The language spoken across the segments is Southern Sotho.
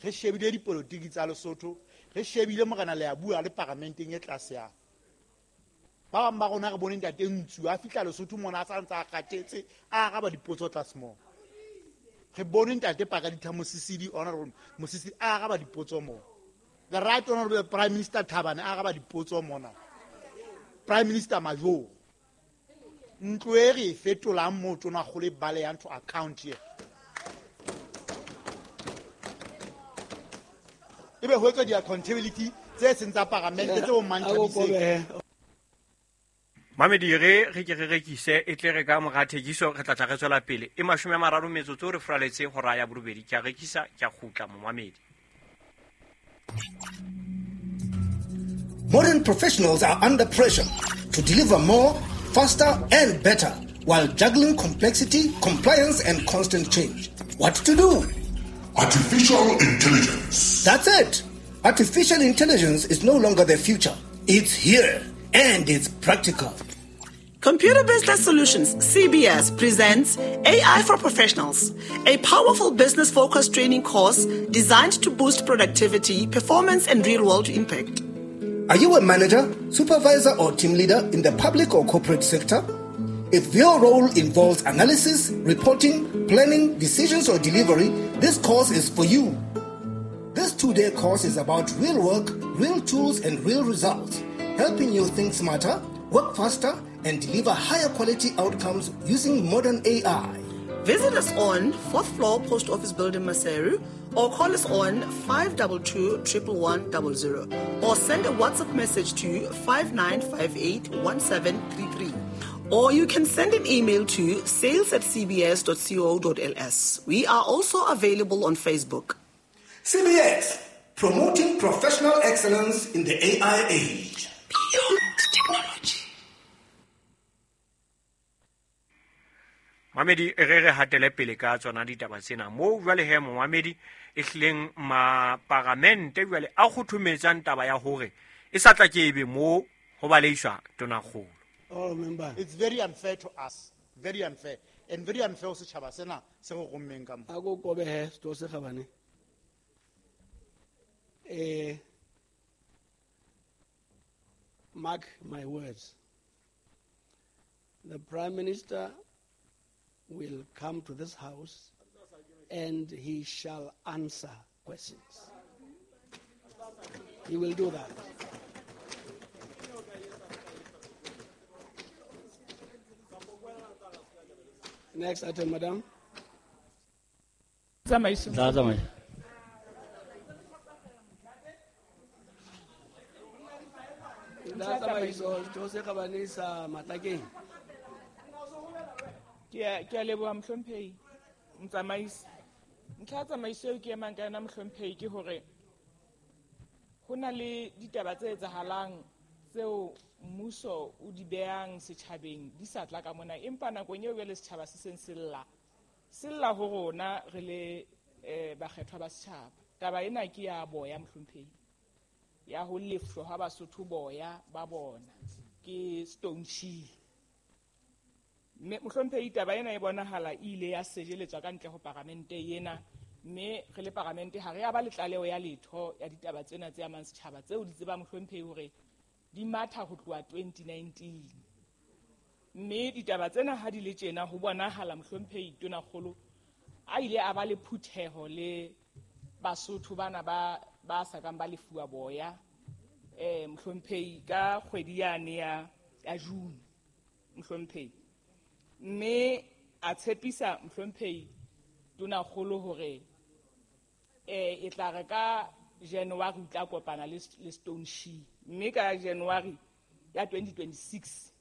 Re shebile dipolotiki tsa Lesotho, re shebile morena le a bua le paramenteng e tlase ya. Ba bang ba rona re bone ntate Ntsu a fihla Lesotho mona a sa ntse a kgathetse, a araba dipotso tlase moo. Re bone ntate Pakalitha Mosisili, Honorable Mosisili a araba dipotso moo. The Right Honorable Prime Minister Thabane a araba dipotso mona. Prime Minister Majoro. Ntlo e re e fetolang moo tonakgolo e balehang to account here. Ebe ho etswa di-accountability tse seng tsa paramente tse bo Manthabiseng. Mamedi re re ke re rekise e tle re ka mora thekiso re tla tla re tswela pele e 30 metsotso re furaletse hora ya borobedi. Ke a rekisa, ke a kgutla momamedi. Modern professionals are under pressure to deliver more, faster and better while juggling complexity, compliance and constant change. What to do? Artificial intelligence. That's it. Artificial intelligence is no longer the future. It's here and it's practical. Computer Business Solutions, CBS, presents AI for Professionals, a powerful business-focused training course designed to boost productivity, performance, and real-world impact. Are you a manager, supervisor, or team leader in the public or corporate sector? If your role involves analysis, reporting, planning, decisions, or delivery, this course is for you. This 2-day course is about real work, real tools, and real results, helping you think smarter, work faster, and deliver higher quality outcomes using modern AI. Visit us on 4th floor Post Office Building, Maseru, or call us on 522 11100, or send a WhatsApp message to 5958 1733. Or you can send an email to sales@cbs.co.ls. We are also available on Facebook. CBS, promoting professional excellence in the AI age. Beyond technology. Mamedi, re re hatele pele ka tsona ditaba tsena. Moo jwale he momamedi e hlileng maparamente jwale a kgothometsang taba ya hore e sa tla ke ebe moo ho baleiswa tonakgolo. Oh, member. It's very unfair to us. Very unfair. And very unfair ho setjhaba sena se re rommeng ka mo. A ko kobe he, setho se kgabane. Mark my words. The Prime Minister will come to this house and he shall answer questions. He will do that. Next item, madam. Tsamaiso. Tla tsamaiso. Tla tsamaiso, setho se kgabane sa Matlakeng. Ke a leboha mohlomphehi motsamaisi. Ntlha ya tsamaiso eo ke emang ka yona mohlomphehi ke hore ho na le ditaba tse etsahalang tseo mmuso o di behang setjhabeng di sa tla ka mona, empa nakong eo jwale setjhaba se seng se lla, se lla ho rona re le bakgethwa ba setjhaba. Taba ena ke ya boya mohlomphehi, ya ho lefshwa ha Basotho boya ba bona ke Stone Chi. Mme mohlomphehi taba ena e bonahala e ile ya sejeletswa ka ntle ho paramente ena, mme re le paramente ha re a ba le tlaleho ya letho ya ditaba tsena tse amang setjhaba tseo di tseba mohlomphehi hore di matha ho tloha 2019. Mme ditaba tsena ha di le tjena ho bonahala mohlomphehi tonakgolo a ile a ba le phutheho le Basotho bana ba sa kang ba lefuwa boya, mohlomphehi ka kgwedi yane ya June mohlomphehi. Mme a tshepisa mohlomphehi tonakgolo hore e tla re ka January o tla kopana le Stone Chi. Mme ka January ya 2026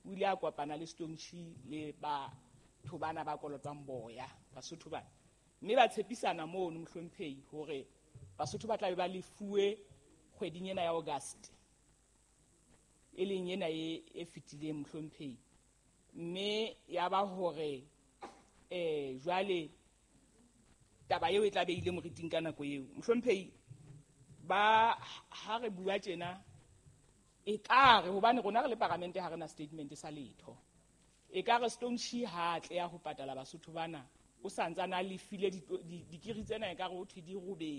o ile a kopana le Stone Chi le batho bana ba kolotang boya, Basotho bana. Mme ba tshepisana mono mohlomphehi hore Basotho ba tla be ba lefuwe kgweding ena ya August, e leng ena e fetileng mohlomphehi. Mme ya ba hore jwale taba eo e tla be ile moriting ka nako eo. Mohlomphehi, ba ha re bua tjena e ka re hobane rona re le paramente ha re na statement sa letho. E ka re Stone Chi ha a tleha ho patala Basotho bana, o sa ntsane a lefile dikiri tsena e ka re ho thwe di robedi.